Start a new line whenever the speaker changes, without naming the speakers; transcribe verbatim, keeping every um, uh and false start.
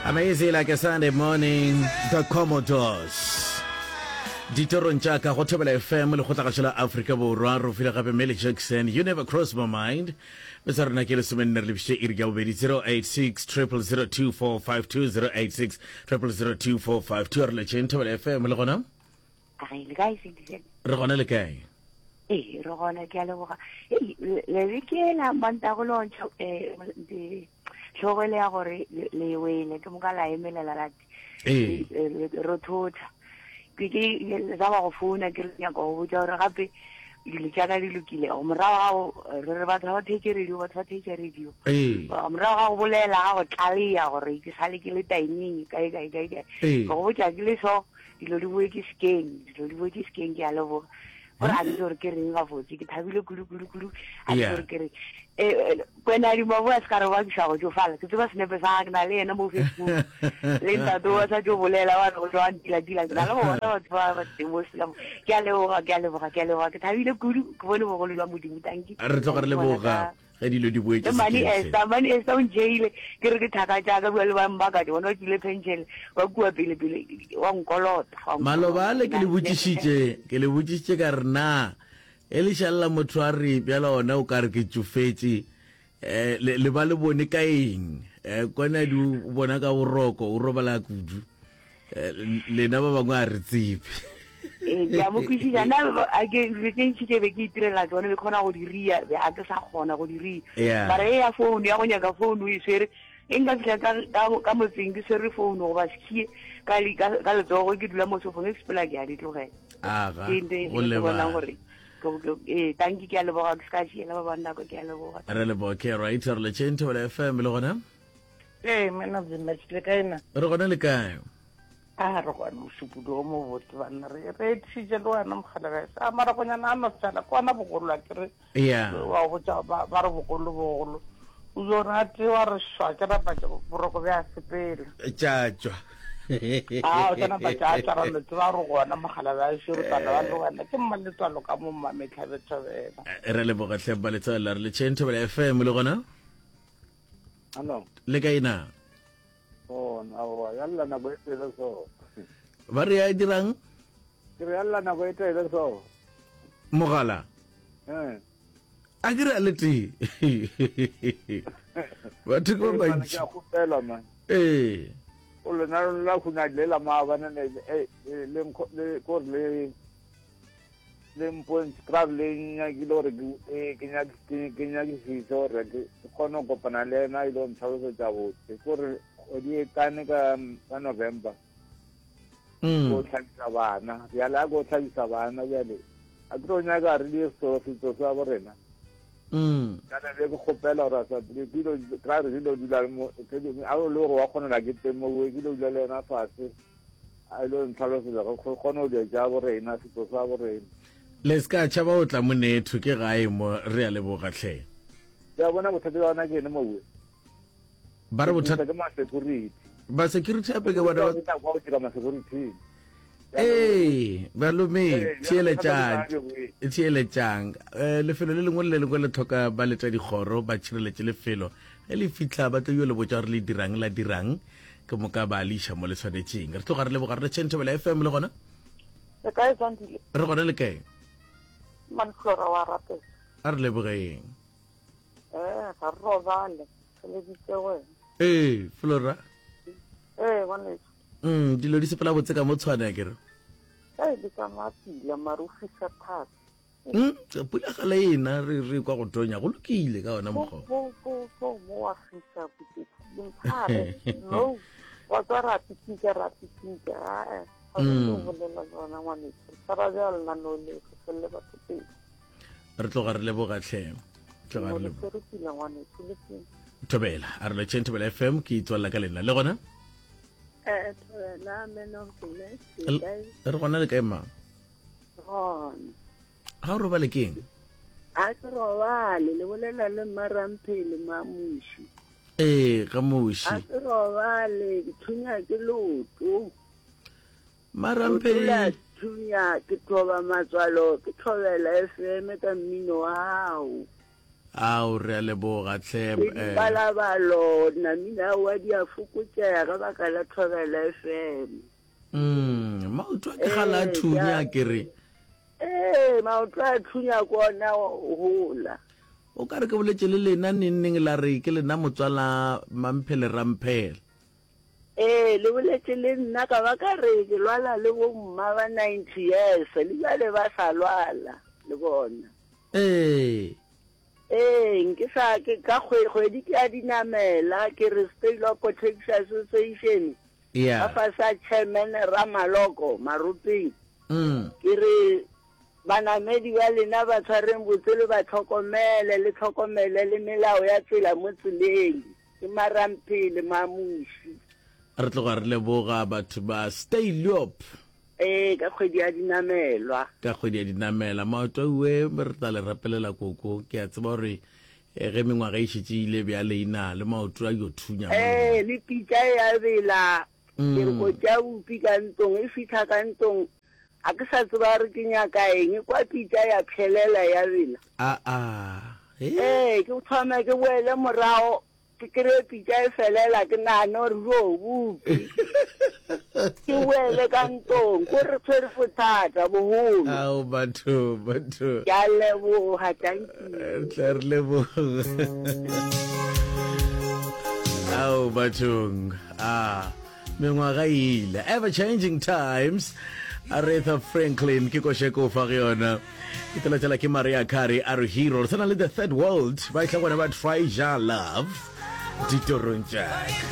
Amazing like a Sunday morning, the Commodores. Ditorong tša ka go Thobela F M, lekgotlagašo la Afrika Borwa, re file gape Millie Jackson, You Never Cross My Mind. Betsa rena ke lesomenne re lebišitše iri ya bobedi, zero eight six zero zero two four five two, zero eight six zero zero two four five two. A re letšeng Thobela F M le gona.
Re le kae, Sentisen?
Re gona, le kae?
Ee, re gona, ke a leboga. Ei, le beke la mantago lontšha um tlhogo ele ya gore le le wele ke moka la emelela la
ee
re thotha ke ke sa ba go founa, ke re nyaka go botsa gore gape dilo tša ka di lokile. Morago ga go re re batho ba theetše radio, batho ba theetše radio.
Ee
morago ga go bolela ga go tlaleya gore ke sale ke le timing kae kae kae kae,
ee
ke go botša ke le so dilo di boetse sekeng, dilo di boetse sekeng. Ke a leboga gore a ntse gore ke reng gabotse, ke thabile kudu kudu kudu, a ntse
Yeah.
gore ke reng. Eh, eh, kwena di mabo a se ka re bakiša go tsofala, ke tseba senepe sa ke na le yena mo Facebook le ntate wa sa tso bolela wa re go tswa ntila-tila, ke na le go bona batho ba ba teng mo selamo. Ke a leboga, ke a leboga, ke a leboga, ke thabile kudu, ke bone bogolo jwa Modimo, tanki.
Re tloga re leboga ge dilo di boetše
Le mane
sekeng hle.
Ester, mane Ester o ntšheile, ke re ke thaka tšaka bua le ba mbaka, ke bona o tswile pension ba kua pele pele wa nkolota, wa
Maloba ale ke le
nkolota.
botšišitše, ke le botšišitše ka re na e le šalela motho a re bjala ona o ka re ke tšofetše, um le le ba le bone ka eng, um kwana di o bona ka boroko, o robala kudu. Eh, lena ba bangwe a re tsebe.
Ee, ke a mo kwešiša nna, a ke dilo tše ntši tše be ke itirela tsone, be kgona go di ria, be a ke sa kgona go di ria.
Yeah.
Mara e ya phone ya go nyaka phone o e swere, e nka fitlha ka- ka ka motseng ke swere phone goba sekhie ka le- ka ka letsogo, ke dula mo sofong e sepela, ke a di tlogela.
Aga.
Ke ntho e
Go
ke bonang
lebala
gore ke- ke- ee, tanki, ke a leboga, ke se ka šiela ba bang nako, ke a leboga.
Re leboga. Okay, right, re letšeng Thobela F M le gona.
Ee, man of the match, le kae na?
Re gona, le kae?
A re gona, mošupologo mo botse banna, re re etišitše le wena mogala a maragonyana a no fela ke ona bogolo a kere.
Yeah
wa botša ba ba re bogolo bogolo o jo rate wa re šwa ke napa boroko bja sepela.
Tša tšwa.
A o tla napa tša tšwa, ra no tseba re gona mogala ba širotana ba le wena ke mmaletswalo ka mo mmametlhabethobela.
Re leboga hle baletswalo, re letšeng Thobela F M le gona.
Hallo.
Le kae na?
Gona, aowa, ya lla nako e tele so.
Ba re ya dirang?
Ke re ya lla nako e tele so.
Mogala.
Eh.
A ke re a le tee, batho ke ba
Ee, man,
bantši.
Ke a kgopela, man.
Ee.
O lena la huna le la maabane le eh, le le nkgo- le ko re le le mpontse kra le nyakile gore ke eh, ke nyake ke ke nyakisise gore ke ke kgone go kopana le ena e le go ntlhalosetsa botse kore kgwedi e tane ka ka November
Mm.
ko tlhabisa bana bjale, a ko tlhabisa bana bjale, a ke tlo nyaka re die setso setso sa bo rena.
Mm.
Kana be ke kgopela gore a sa ke ilo kra re dilo dula mo ke a o le gore wa kgonela ke teng mo, ke ilo dula le yena fatshe a ilo ntlhalosetsa go kgone go dia tša bo rena, setso sa bo rena.
Le se ka tšhaba o tla monetho, ke gae mo, re a leboga tlhe.
Ke a bona bothata bja gona ke ene mowe.
Ba re bothata
ke ma-security.
Ba security gape ke bona ba
Ke tla kwa go dira ma-security.
Ee, balome.
Ee,
Theeletšang.
bothata ke
Theeletšang, um lefelo le lengwe le le lengwe le tlhoka ba letša dikgoro ba tšhireletše lefelo. Ge le fitlha ba tlo yo le botša gore le dirang, la dirang, ke moka ba le iša mo le tshwanetšeng. Re tloga re leboga, re letšeng Thobela F M le gona.
Le kae, Zandile?
Re gona, le kae?
Manflora wa rapela.
A re lebogeng.
Eh, ga re robale. Re lebitse wena.
Ee, Flora.
Eh, ngwaneso.
mm dilo di sepela botse ka mo tshwane a kere?
Eh, di tsamaya pila mare o fisa thata.
Mm, pula ga le ena, re re kwa go tonya, go lokile ka ona
Bo
mokgwa.
bo bo bo mo wa fisa botse. Limphare. No. Wa tswa ra pitika ra pitika. Ah, eh. Ga re
Mm.
tlo bolela le wena ngwaneso. Tshwara bjalo nna no le go felle batho pele.
Re tloga re leboga tlhe, tloga re
Mo le
leboga.
tshwere pila ngwaneso le pila.
Thobela, a re letšeng Thobela F M, ke itswalela ka lena le gona.
Eh, Thobela, man of the match,
L-
le kae?
Re gona, le kae mang?
Gona.
Ga o robale keng?
A ke robale, le bolela le Mmaramphele Mamuši.
Ee, ga
A
moši.
ke robale, ke thunya ke leoto. Leoto la
Maramphele.
thunya, ke thoba matswalo, ke thobela F M ka mmino wa gago.
Ao, re a leboga hle.
Le dipalabalo namile aowa di a fokotšega ka baka la Thobela F M.
Mm, maoto a ke gala a
Ee,
thunya
ke a
ke re.
Ee, maoto a thunya ke ona gola.
O ka re ke boletše le lena neng neng la re ke lena motswala Mamphele Ramphele.
Ee, le boletše le nna ka ba ka re ke lwala le bo mma ba ninety years le bjale ba sa lwala le bona.
Ee.
Ee, nke sa ke ka kgwedi ke a dinamela ke re State Law Protection Association ka
Yeah.
fase a chairman Ramaloko Maropeng.
Mm.
Ke re banamedi ba lena ba tshwareng botse le ba tlhokomele le tlhokomele le melao ya tsela mo tseleng. Ke Maramphele Mamuši.
Re tloga re leboga batho ba Stay Loop.
Ee, ka kgwedi ya dinamelwa.
Ka kgwedi ya dinamela. Maoto auwe re tla le rapelela koko. Ke a tseba gore eh, ge mengwaga e šetše ile bjale ina le maoto a yo thunya mo
Ee,
lena.
le pitša e a bela. Ke re
Mm.
ko tša bupi ka ntlong, e fihla ka ntlong a ke sa tseba re ke nyaka eng, kwa pitša ya phelela ya bela.
A a. He.
Ee, ke thome ke boele morago ke kry-e pitša e felela ke nagane gore jo bupi. Ke boele ka ntlong ko re tshwere bothata bogolo.
Ao batho, batho.
Ke a leboga, thank you.
Re tla re leboga. Ao bathong. Ah, mengwaga e ile. Ever changing times. Aretha Franklin ke košeko fa go yona. Ke telatela ke Maria Carey a re hero. Re tshwana le the third world ba tla gona ba try ja love ditorong tša ka.